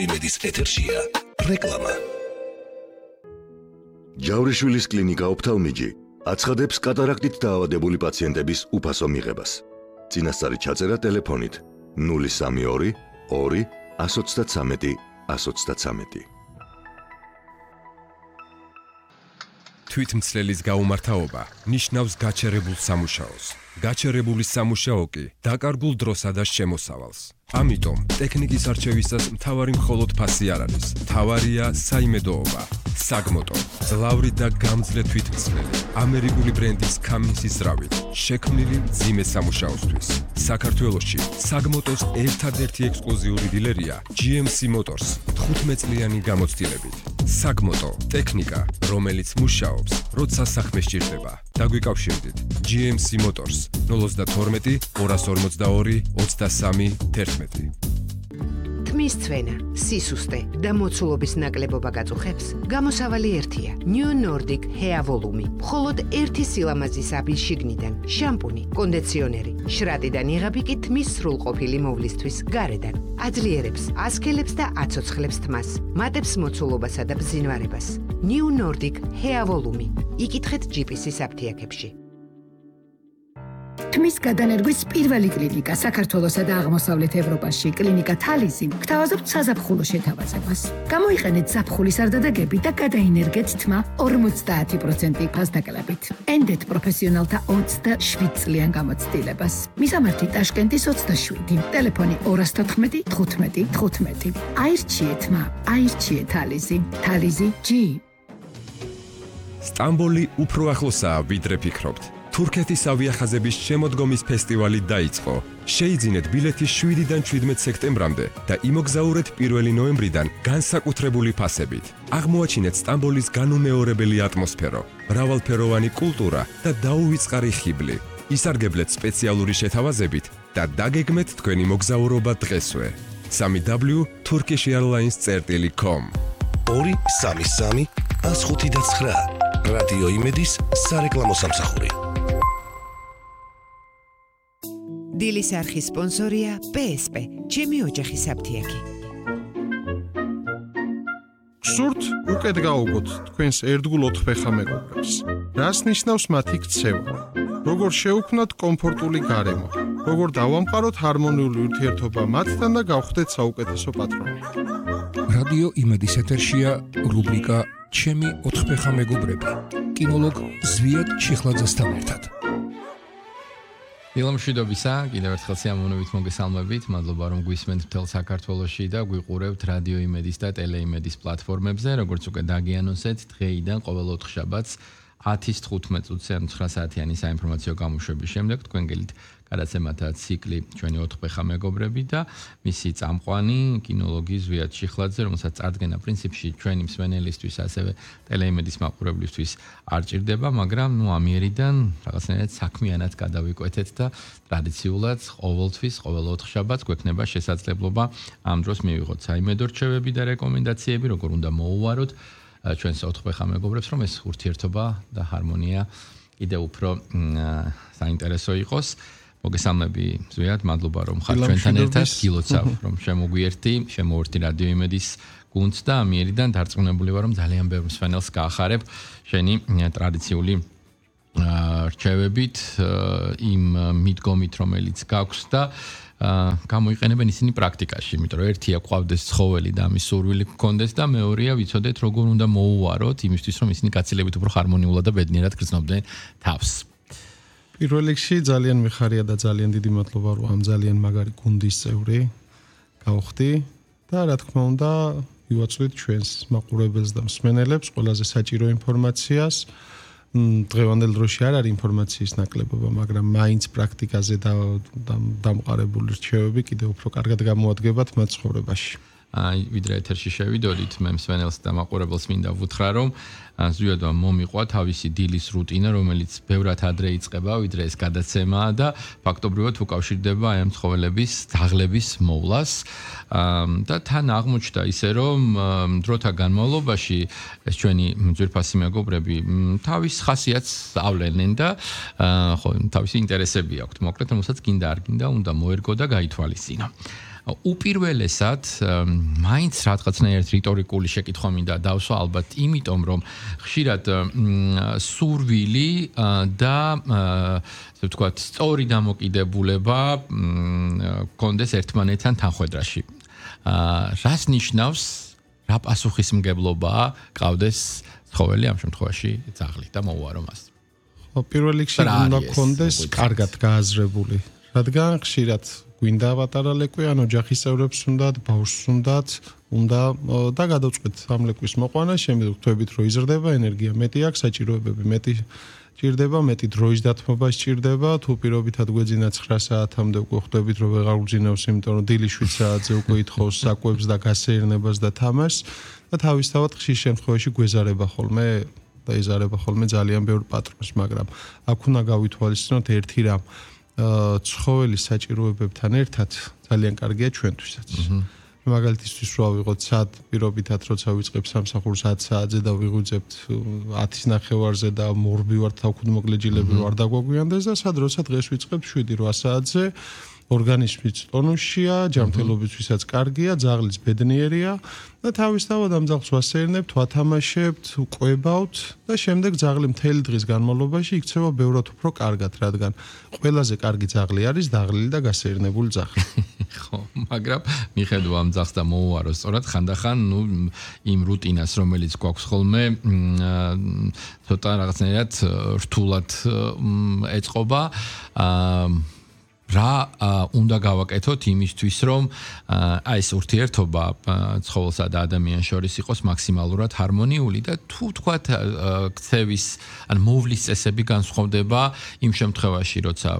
იმედის ეთერშია რეკლამა. ჯავრიშვილის კლინიკა ოფთალმიჯი აცხადებს კატარაქტით დაავადებული პაციენტების უფასო მიღებას. წინასწარი ჩაწერა ტელეფონით 032 2 133 133. თვითმცლელის გაუმართავობა ნიშნავს გაჩერებულ სამუშაოს. გაჩერებული სამუშაო კი დაკარგულ დროსა და შემოსავალს. ამიტომ ტექნიკის არჩევისას მთავარი მხოლოდ ფასი არ არის. მთავარია საიმედოობა. საგმოტო, ძლავრით და გამძლე თვითმცლელი, ამერიკული ბრენდის კამინსის ზრავით, შექმნილი მძიმე სამუშაოსთვის. საქართველოში საგმოტოს ერთადერთი ექსკლუზიური დილერია GMC Motors 15 წლიანი გამოცდილებით. საგმოტო ტექნიკა, რომელიც მუშაობს, როცა საქმე სჭირდება. დაგვიკავშირდით GMC Motors 012 242 23 11. თმის ცვენა, სისუსტე და მოცულობის ნაკლებობა გაწუხებს, გამოსავალი ერთია. New Nordic Hair Volume. მხოლოდ ერთი სილამაზის აბი შიგნიდან, შამპუნი, კონდიციონერი, შრატიდან იღები კი თმის სრულყოფილი მოვლისთვის გარედან. აძლიერებს, ასქელებს და აცოცხლებს თმას, მატებს მოცულობასა და ბზინვარებას. New Nordic Hair Volume. იკითხეთ GPC-ის აფთიაქებში. თმის გადანერგვის პირველი კლინიკა საქართველოსა და აღმოსავლეთ ევროპაში, კლინიკა თალიზი, გთავაზობთ საზაფხულო შეთავაზებას. გამოიყენეთ ზაფხულის არდადეგები და გადაინერგეთ თმა 50% ფასდაკლებით. ენდეთ პროფესიონალთა 27 წლიან გამოცდილებას. მისამართი ტაშკენტის 27, ტელეფონი 214 15 15. აირჩიეთ თმა, აირჩიეთ თალიზი. თალიზი G. სტამბოლი უფრო ახლოსაა, ვიდრე ფიქრობთ. თურქეთის ავიახაზების შემოდგომის ფესტივალი დაიწყო. შეიძინეთ ბილეთი 7-დან 17 სექტემბრამდე და იმოგზაურეთ 1 ნოემბრიდან განსაკუთრებული ფასებით. აღმოაჩინეთ სტამბოლის განუმეორებელი ატმოსფერო, მრავალფეროვანი კულტურა და დაუვიწყარი ხიბლი. ისარგებლეთ სპეციალური შეთავაზებით და დაგეგმეთ თქვენი მოგზაურობა დღესვე. www.turkishairlines.com 233 159 რადიო იმედის სარეკლამო სამსახური. დილის არხის სპონსორია PSP, ჩემი ოჯახის აფთიაქი. სურთ უკეთ გაუგოთ თქვენს ერთგულ ოთხფეხა მეგობრებს. რას ნიშნავს მათი ქცევა? როგორ შევქმნათ კომფორტული გარემო? როგორ დავამყაროთ ჰარმონიული ურთიერთობა მათთან და გავხდეთ საუკეთესო პატრონი? რადიო იმედის ეთერშია რუბრიკა ჩემი ოთხფეხა მეგობრები. კინოლოგ ზვიად ჩიხლაძესთან ერთად. ილამშვიდობისა, კიდევ ერთხელ სიამოვნებით მოგესალმებით. მადლობა რომ გვისმენთ მთელ საქართველოში და გვიყურებთ რადიო იმედის და ტელეიმედის პლატფორმებზე. როგორც უკვე დაგიანონსეთ, დღეიდან ყოველ ოთხშაბათს 10:15 წუთზე 9 საათიანი საინფორმაციო გამოშვების შემდეგ თქვენ გელით გადაცემათა ციკლი ჩვენი ოთხფეხა მეგობრები და მისი წამყვანი კინოლოგი ზვიად ჩიხლაძე, რომელსაც წარდგენა პრინციპში ჩვენი მსმენელისთვის, ასევე ტელეიმედის მაყურებლისთვის არ ჭირდება, მაგრამ ამიერიდან რაღაცნაირად საქმიანად გადავიკვეთეთ და ტრადიციულად ყოველთვის, ყოველ ოთხშაბათს გვექნება შესაძლებლობა ამ დროს მივიღოთ საიმედო რჩევები და რეკომენდაციები, როგორ უნდა მოუვაროთ ჩვენს ოთხფეხა მეგობრებს, რომ ეს ურთიერთობა და ჰარმონია კიდევ უფრო საინტერესო იყოს. მოგესალმები ზვიად, მადლობა რომ ხარ ჩვენთან ერთად, გილოცავ რომ შემოვერთი რადიო იმედის გუნდს და ამიერიდან დარწმუნებული ვარ რომ ძალიან ბევრ მსმენელს გაახარებ შენი ტრადიციული რჩევებით, იმ მიდგომით რომელიც გაქვს და გამოიყენებენ ისინი პრაქტიკაში, იმიტომ რომ ერთია ყავდეს ცხოველი და ამის სურვილი გქონდეს და მეორეა ვიცოდეთ როგორ უნდა მოუვაროთ იმისთვის რომ ისინი გაცილებით უფრო ჰარმონიულად და ბედნიერად გრძნობდნენ თავს. პირველ რიგში ძალიან მიხარია და ძალიან დიდი მადლობა რომ ამ ძალიან მაგარი გუნდის წევრი გავხდი და რა თქმა უნდა ვივაწვით ჩვენს მაყურებელს და მსმენელებს ყველაზე საჭირო ინფორმაციას. დღევანდელ დროში არ არის ინფორმაციის ნაკლებობა, მაგრამ მაინც პრაქტიკაზე და დამყარებული რჩევები კიდევ უფრო კარგად გამოადგებათ მათ ცხოვრებაში. ვიდრე ეთერში შევიდოდით, მე მსმენელს და მაყურებელს მინდა ვუთხრა, რომ ზვიადმა მომიყვა თავისი დილის რუტინა, რომელიც ბევრად ადრე იწყება, ვიდრე ეს გადაცემაა და ფაქტობრივად უკავშირდება აი ამ ცხოველების დაღლების მოვლას და თან აღმოჩნდა ისე, რომ დროთა განმავლობაში ეს ჩვენი ძვირფასი მეგობრები თავის ხასიათს ავლენენ და ხო, თავისი ინტერესები აქვთ, მოკლედ, რომელსაც გინდა არ გინდა, უნდა მოერგო და გაითვალისწინო. უპირველესად მაინც რაღაცნაირად რიტორიკული შეკითხვა მინდა დავსვა ალბათ იმიტომ რომ ხშირად სურვილი და ასე ვთქვათ სწორი დამოკიდებულება კონდეს ერთმანეთთან თანხვედრაში რას ნიშნავს რა პასუხისმგებლობა ყავდეს ცხოველი ამ შემთხვევაში ძაღლი და მოუარო მას პირველ რიგში უნდა კონდეს კარგად გააზრებული რადგან ხშირად გვინდა პატარა ლეკვი ან ოჯახის წევრებს უნდათ ბავშვს უნდა და გადავწყვეტ ამ ლეკვის მოყვანა შემდგომ ხვდებით რომ იზრდება ენერგია მეტი აქვს საჭიროებები მეტი ჭირდება მეტი დროის დათმობა სჭირდება თუ პირობითად გვეძინა 9 საათამდე უკვე ხვდებით რომ ვეღარ უძინავს იმიტომ რომ დილის 7 საათზე უკვე ითხოვს საკვებს და გასეირნებას და თამაშს და თავისთავად ხშირ შემთხვევაში გვეზარება ხოლმე და ეზარება ხოლმე ძალიან ბევრ პატრონს მაგრამ აქ უნდა გავითვალისწინოთ ერთი რამ ცხოველის საჭიროებებთან ერთად ძალიან კარგია ჩვენთვისაც. მაგალითისთვის რა ვიღოთ სად პირობითად როცა ვიწყებ სამსახურს 10 საათზე და ვიღვიძებთ 10-ის ნახევარზე და მორბი ვარ თავქუდმოკლეჯილები ვარ დაგვაგვიანდეს და სად როცა დღეს ვიწყებ 7-8 საათზე ორგანიზმის ტონუსშია, ჯანმრთელობისთვისაც კარგია, ძაღლიც ბედნიერია და თავისთავად ამ ძაღლს ვასეირნებთ, ვათამაშებთ, ვყვებავთ და შემდეგ ძაღლი მთელი დღის განმავლობაში იქცევა ბევრად უფრო კარგად, რადგან ყველაზე კარგი ძაღლი არის დაღლილი და გასეირნებული ძაღლი. ხო, მაგრამ მიხედვა ამ ძაღლს და მოუარო სწორად ხანდახან, იმ რუტინას, რომელიც გვაქვს ხოლმე, ცოტა რაღაცნაირად რთულად ეწყობა რა უნდა გავაკეთოთ იმისთვის რომ აი ეს ურთიერთობა ცხოველსა და ადამიანს შორის იყოს მაქსიმალურად ჰარმონიული და თუ თქვათ ქცევის ან მოვლის წესები განსხვავდება იმ შემთხვევაში როცა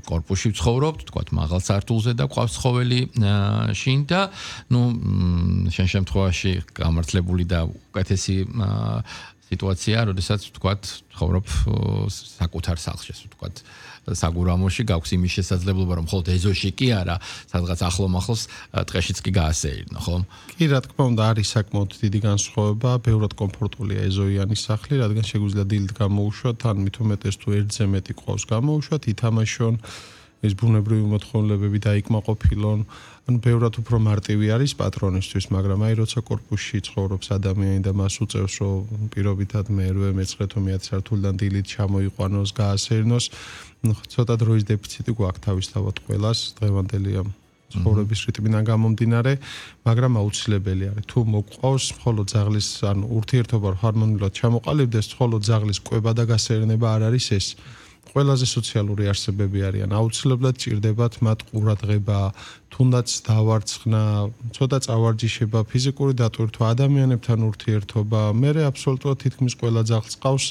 კორპუსში ვცხოვრობთ თქვათ მაღალ სართულზე და ყავს ცხოველი შინ და ნუ შენ შემთხვევაში გამართლებული და უკეთესი სიტუაცია როდესაც თქვათ ცხოვრობ საკუთარ სახლში თქვათ საგურამოში გაქვს იმის შესაძლებლობა რომ მხოლოდ ეზოში კი არა სადღაც ახლომახლოს ტყეშიც კი გაასეირნო ხო? კი რა თქმა უნდა არის საკმაოდ დიდი განსხვავება, ბევრად კომფორტულია ეზოიანი სახლი, რადგან შეგვიძლია დილით გამოუშვათ, ან მით უმეტეს თუ ერთზე მეტი ყავს გამოუშვათ, ითამაშონ ეს ბუნებრივი მოთხოვნილებები დაიკმაყოფილონ, ან ბევრად უფრო მარტივი არის პატრონისთვის, მაგრამ აი როცა კორპუსში ცხოვრობს ადამიანი და მას უწევს რომ პირობითად მერვე მეცხრე-10 სართულიდან დილით ჩამოიყვანოს, გაასეირნოს, ცოტა დროის დეფიციტი გვაქვს თავისთავად ყველას დღევანდელი ამ ცხოვრების რიტმიდან გამომდინარე, მაგრამ აუცილებელი არის თუ მოგყავს მხოლოდ ძაღლის ან ურთიერთობა ჰარმონიულად ჩამოყალიბდეს, მხოლოდ ძაღლის კვება და გასეირნება არ არის ეს. ყველაზე სოციალური არსებები არიან, აუცილებლად ჭირდებათ მათ ყურადღება, თუნდაც დავარცხნა, ცოტა წავარჯიშება, ფიზიკური დატვირთვა, ადამიანებთან ურთიერთობა, მერე აბსოლუტურად თითქმის ყველა ძაღლს ყავს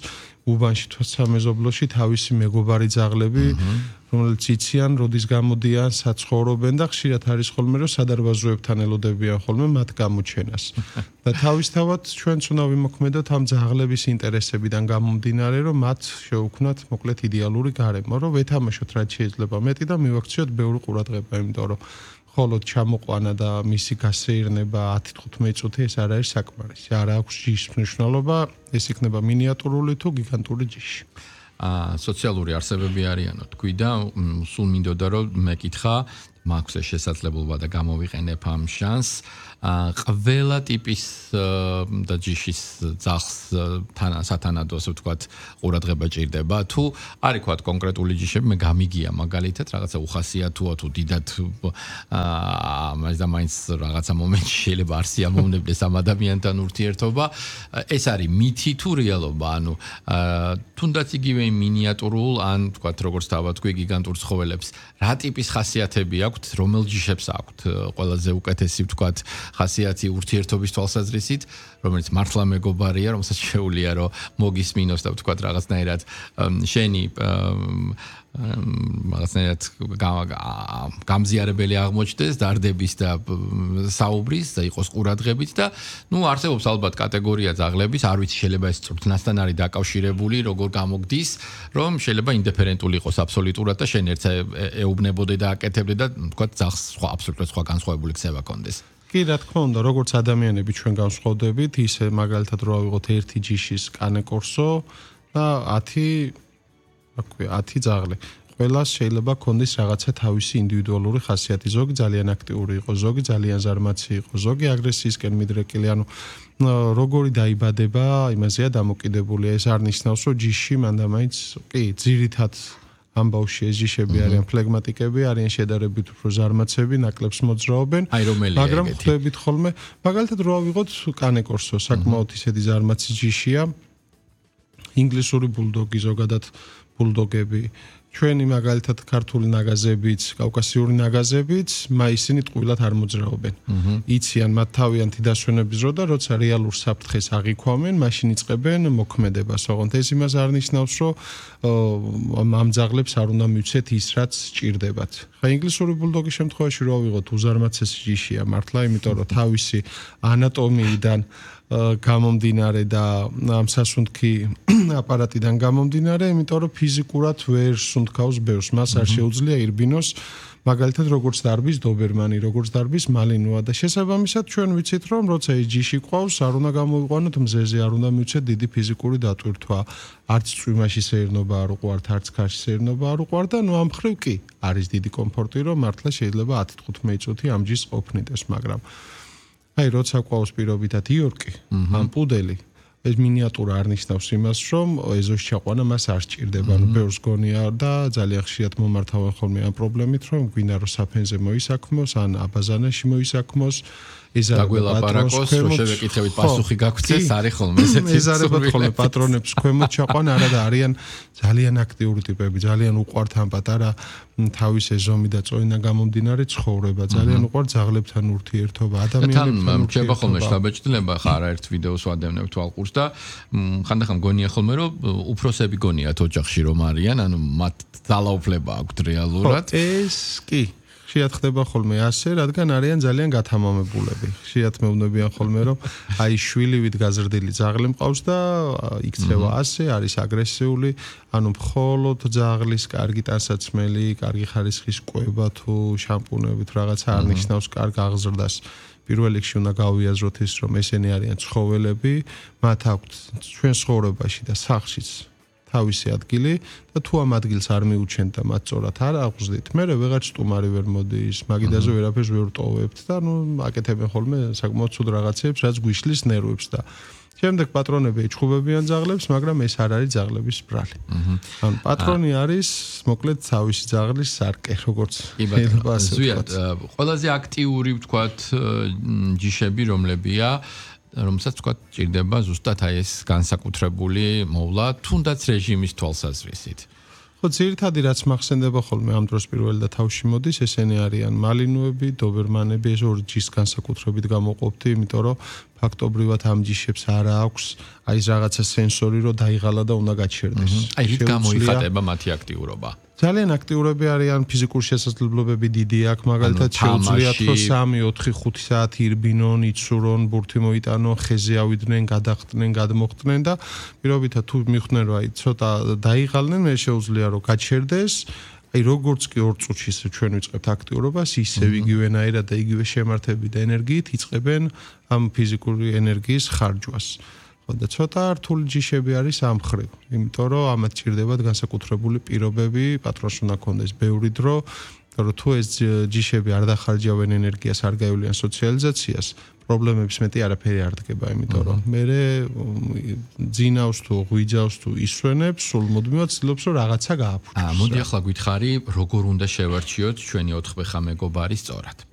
უბანში თუ სამეზობლოში თავისი მეგობარი ძაღლები, რომელიც იციან, როდის გამოდიან, საცხოვრობენ და ხშირად არის ხოლმე რომ სადარბაზოებთან ელოდებიან ხოლმე მათ გამოჩენას. და თავისთავად ჩვენც უნდა ვიმოქმედოთ ამ ძაღლების ინტერესებიდან გამომდინარე, რომ მათ შევუქმნათ მოკლედ იდეალური გარემო, რომ ვეთამაშოთ რაც შეიძლება მეტი და მივაქციოთ ბევრი ყურადღება, იმიტომ რომ ხოლოდ ჩამოყვანა და მისი გასეირნება 10-15 წუთი ეს არ არის საკმარისი. არ აქვს ჯიშის მნიშვნელობა, ეს იქნება მინიატურული თუ გიგანტური ჯიში. სოციალური არსებები არიანო თქვი და სულ მინდოდა რომ მეკითხა მაქვს ეს შესაძლებლობა და გამოვიყენებ ამ შანსს ყველა ტიპის და ჯიშის ძაღლს სათანადო ასე ვთქვათ ყურადღება ჭირდება თუ არის ვთქვათ კონკრეტული ჯიშები მე გამიგია მაგალითად რაღაცა უხასიათოა თუ დიდად მაინც რაღაცა მომენტში შეიძლება არ სიამოვნებდეს ამ ადამიანთან ურთიერთობა ეს არის მითი თუ რეალობა ანუ თუნდაც იგივე მინიატურულ ან ვთქვათ როგორც დავთქვი გიგანტურ ცხოველებს რა ტიპის ხასიათები აქვთ რომელ ჯიშებს აქვთ ყველაზე უკეთესი ვთქვათ ხასიათი ურთიერთობის თვალსაზრისით, რომელიც მართლა მეგობარია, რომელსაც შეუძლია რომ მოგისმინოს და ვთქვათ რაღაცნაირად შენი რაღაცნაირად გამზიარებელი აღმოჩნდეს დარდების და საუბრის და იყოს ყურადღებით და ნუ არსებობს ალბათ კატეგორია ძაღლების, არ ვიცი შეიძლება ეს წვრთნასთან არის დაკავშირებული, როგორ გამოგდის, რომ შეიძლება ინდიფერენტული იყოს აბსოლუტურად და შენ ერთს ეუბნებოდე და აკეთებდე და ვთქვათ ძაღლს სხვა აბსოლუტურად სხვა განსხვავებული ქცევა კონდეს. კი, რა თქმა უნდა, როგორც ადამიანები ჩვენ განსხვავდებით, ისე მაგალითად რო ავიღოთ ერთი ჯიშის კანე კორსო და 10 ძაღლი. ყველას შეიძლება ქონდეს რაღაცა თავისი ინდივიდუალური ხასიათი. ზოგი ძალიან აქტიური იყო, ზოგი ძალიან ზარმაცი იყო, ზოგი აგრესიისკენ მიდრეკილი, ანუ როგორი დაიბადება, იმაზეა დამოკიდებული. ეს არ ნიშნავს, რომ ჯიში მანდამაინც, კი, ძირითად ამ ბავშვი ეს ჯიშები არიან ფლეგმატიკები, არიან შედარებით უფრო ზარმაცები, ნაკლებს მოძრაობენ, მაგრამ ხვდებით ხოლმე, მაგალითად რო ავიღოთ კანეკორსო, საკმაოდ ისეთი ზარმაცი ჯიშია. ინგლისური ბულდოგი, ზოგადად ბულდოგები, ჩვენი მაგალითად ქართული ნაგაზებიც, კავკასიური ნაგაზებიც, ისინი ტყუილად არ მოძრაობენ. იციან მათ თავიანთი დასვენების დრო და როცა რეალურ საფრთხეს აღიქვამენ, მაშინ იწყებენ მოქმედებას. ოღონდ ეს იმას არ ნიშნავს, რომ ამ ძაღლებს არ უნდა მივცეთ ის, რაც სჭირდებათ. ხა ინგლისური ბულდოგის შემთხვევაში რო ავიღოთ უზარმაცესი ჯიშია მართლა, იმიტომ რომ თავისი ანატომიიდან გამომდინარე და ამ სასუნთქი აპარატიდან გამომდინარე, იმიტომ რომ ფიზიკურად ვერ სუნთქავს ბევრს, მას არ შეუძლია ირბინოს, მაგალითად როგორც დარბის დობერმანი, როგორც დარბის მალინოა და შესაბამისად ჩვენ ვიცით რომ როცა ეს ჯიში ყავს, არ უნდა გამოიყვანოთ მზეზე, არ უნდა მივცეთ დიდი ფიზიკური დატვირთვა, არც წვიმაში სეირნობა არ უყვართ, არც ქარში სეირნობა არ უყვართ და ამ ხრივ კი არის დიდი კომფორტი, რომ მართლა შეიძლება 10-15 წუთი ამ ჯიშს ყოფნიდეს, მაგრამ როცა ყავს პირობითად იორკი, ან პუდელი, ეს მინიატურა არ ნიშნავს იმას, რომ ეზოს ჩაყვანა მას არ სჭირდება, ანუ ბევრს გონია და ძალიან ხშირად მომართავენ ხოლმე ამ პრობლემით, რომ გვინდა რომ საფენზე მოისაქმოს, ან აბაზანაში მოისაქმოს, დაგველაპარაკოს, რომ შევეკითხებით პასუხი გაგვცეს, არის ხოლმე ესეთი ეზარებათ ხოლმე პატრონებს ქვემოთ ჩაყვანა, არა და არიან ძალიან აქტიური ტიპები, ძალიან უყვართ ამ პატარა თავის ეზომი და წოიდან გამომდინარე ცხოვრება, ძალიან უყვართ ძაღლებთან ურთიერთობა, ადამიანებთან ურთიერთობა. რჩება ხოლმე შთაბეჭდილება, ხა არაერთ ვიდეოს ვადევნებ თვალყურს და ხანდახან გონია ხოლმე, რომ უფროსები გონიათ ოჯახში რომ არიან, ანუ მათ ძალაუფლება აქვთ რეალურად. ეს კი ხშირად ხდება ხოლმე ასე, რადგან არიან ძალიან გათამამებულები. ხშირად მეუბნებიან ხოლმე, რომ შვილივით გაზრდილი ძაღლი მყავს და იქცევა ასე, არის აგრესიული, ანუ მხოლოდ ძაღლის კარგი ტანსაცმელი, კარგი ხარისხის კვება თუ შამპუნები თუ რაღაცა არ ნიშნავს კარგ აღზრდას. პირველ რიგში უნდა გავიაზროთ ის, რომ ესენი არიან ცხოველები, მათ აქვთ ჩვენ ცხოვრებაში და სახლშიც თავისი ადგილი და თუ ამ ადგილს არ მიუჩენთ და მათ სწორად არ აღვზდით, მე ვეღარ სტუმარი ვერ მოდის, მაგიდაზე ვერაფერს ვერ ვტოვებთ და აკეთებენ ხოლმე საკმაოდ ცუდ რაღაცებს, რაც გვიშლის ნერვებს და შემდეგ პატრონები ეჩხუბებიან ძაღლებს, მაგრამ ეს არ არის ძაღლების ბრალი. ანუ პატრონი არის მოკლედ თავისი ძაღლის სარკე, როგორც ზვიად, ყველაზე აქტიური ვთქვათ ჯიშები რომლებია, რომელსაც თქვა ჭირდება ზუსტად ეს განსაკუთრებული მოვლა, თუნდაც რეჟიმის თვალსაზრისით. ხო, ძირითადი რაც მახსენდება ხოლმე ამ დროს პირველ და თავში მოდის, ესენი არიან მალინოები, დობერმანები, ეს ორი ჯიშის განსაკუთრებით გამოყოფთი, იმიტომ რომ ფაქტობრივად ამ ჯიშებს არ აქვს ის რაღაცა სენსორი, რომ დაიღალა და უნდა გაჩერდეს. რით გამოიხატება მათი აქტიურობა? ძალიან აქტიურები არიან, ფიზიკური შესაძლებლობები დიდი აქვს, მაგალითად შეუძლიათ რომ 3-4-5 საათი ირბინონ, იცურონ, ბურთი მოიტანონ, ხეზე ავიდნენ, გადახტნენ, გადმოხტნენ და პირობითად თუ მიხვდნენ რომ ცოტა დაიღალნენ, მე შეუძლია რომ გაჩერდეს. როგორც კი 2 წუთში ჩვენ ვიწყებთ აქტიურობას, ისევ იგივენაირად და იგივე შემართებით და ენერგიით იწყებენ ამ ფიზიკური ენერგიის ხარჯვას. და ცოტა რთული ჯიშები არის ამ ხრივ, იმიტომ რომ ამათ ჭირდებათ განსაკუთრებული პირობები, პატრონს უნდა ქონდეს ბევრი დრო, რომ თუ ეს ჯიშები არ დახარჯავენ ენერგიას, არ გაივლიან სოციალიზაციას, პრობლემების მეტი არაფერი არ დგება, იმიტომ რომ მე ძინავს თუ ღვიძავს თუ ისვენებს, სულ მუდმივად ცდილობს რომ რაღაცა გააფუჭოს. მოდი ახლა გითხარი, როგორ უნდა შევარჩიოთ ჩვენი 4 ხმე მეგობარი სწორად.